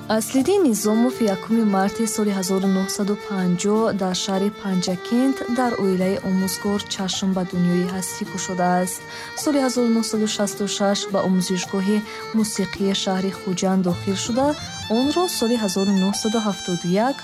Аслиддин Низомов 1 марти соли 1950 дар шаҳри Панҷакент дар оилаи омӯзгор чашм ба дунёи ҳастӣ кушодааст. Соли 1966 ба омӯзишгоҳи мусиқии шаҳри Хуҷанд дохил шуда, онро соли 1971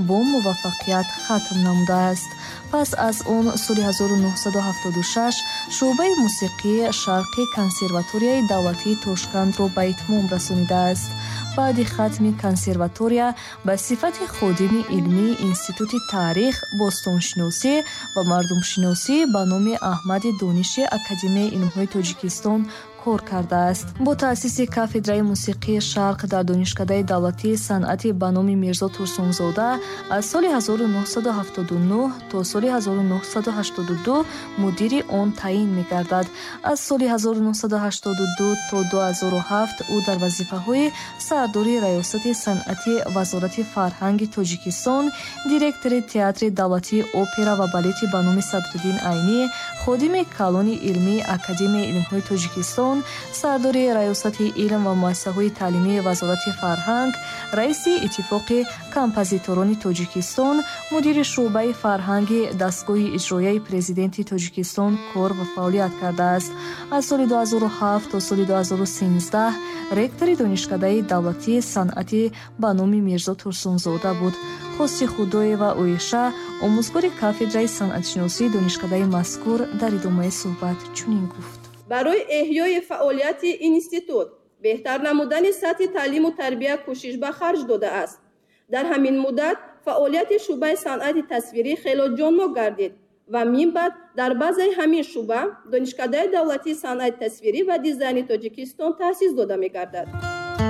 бо муваффақият хатм намудааст. Пас аз он соли 1976 шӯъбаи мусиқии Шарқи консерваторияи давлатии Тошкандро ба итмом расонидааст. Баъди хатми консерватория ба сифати ходими илмии Институти таърих, бостоншиносӣ ва мардумшиносӣ ба номи Аҳмади Дониши Академияи илмҳои Тоҷикистон кор кардааст. Бо таъсиси кафедраи мусиқии Шарқ дар Донишкадаи давлатии санъати ба номи Мирзо Турсунзода аз соли 1979 то соли 1982 мудири он таъин мегардад. Аз соли 1982 то 2007 ӯ дар вазифаҳои сардори Раёсати санъати Вазорати фарҳанги Тоҷикистон, директори Театри давлатии опера ва балети ба номи Садриддин Айнӣ, ходими калони илмии Академияи илмҳои Тоҷикистон, сардори Раёсати илм ва муассисаҳои таълимии Вазорати фарҳанг, раиси Иттифоқи композиторони Тоҷикистон, мудири шӯъбаи фарҳанги дастгоҳи иҷроияи Президенти Тоҷикистон кор ва фаъолият кардааст. Аз соли 2007 то соли 2013 ректори Донишкадаи давлатии санъатӣ ба номи Мирзо Турсунзода буд. Хости Худоева Оиша, омӯзгори кафедраи санъатшиносии донишкадаи мазкур, дар идомаи суҳбат чунин гуфт: Барои эҳёи фаъолияти институт, беҳтар намудани сатҳи таълиму тарбия кӯшиш ба харҷ додааст. Дар ҳамин муддат фаъолияти шӯъбаи санъати тасвирӣ хело ҷоннок гардид ва минбаъд дар базаи ҳамин шӯъба Донишкадаи давлатии санъати тасвирӣ ва дизайни Тоҷикистон таъсис дода мегардад.